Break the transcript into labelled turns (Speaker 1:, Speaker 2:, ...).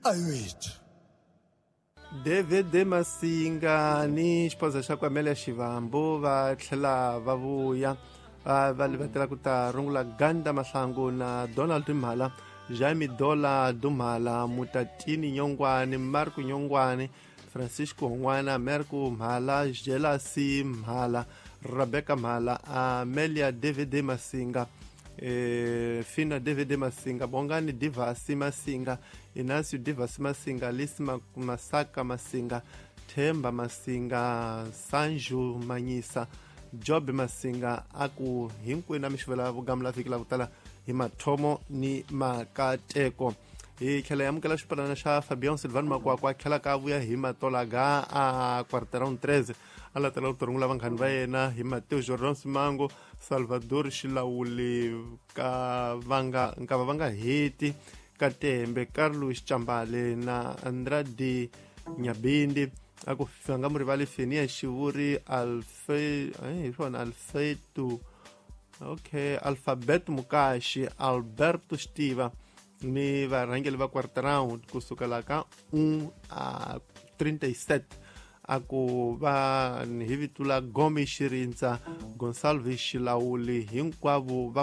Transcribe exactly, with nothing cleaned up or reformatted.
Speaker 1: Ayiwethu.
Speaker 2: David Masinga ni xiphosa xa ku Amelia Xivambu va tlhela va vuya va va livatela ku ta rungula Ganda Mahlangu na Donald Mhala, Jaime Dola Dumhala, Mutatini Nyongwane, Marco Nyongwane, Francisco Hongwana, Merco Mhala, Jelasi Mhala, Rebecca Mhala, Amelia David Masinga, eh, Fina David Masinga, Bongani Divasi Masinga, Inacio Divasi Masinga, Alice Masaka Masinga, Themba Masinga, Sanju Manyisa, Job Masinga, aku hinkwenu a mi xivela vugamula vhiki la ku tala hi mathomo ni makateko. Hi tlhela hi amukela xipalana xa Fabian Silvan Makwakwa, tlhela ka vuya hi matolaga a quarteron treze, a latela ku tirhungula vanghani va yena hi Mateo Jordan Simango, Salvador Xilawuli ka vanga nkava va nga heti Katembe, Carlos Chambale na Andrade Nyabindi. A ku nga mu rivali Fenia Xivuri, Alfe hi swona Alfeto, okay, Alphabet Mukashi, Alberto Xtiva ni varhangeri va quarter round kusukela ka un a trinta e sete. A ku va hi vito la Gomi Xirindza, Gonsalves Xilawuli, hinkwavo va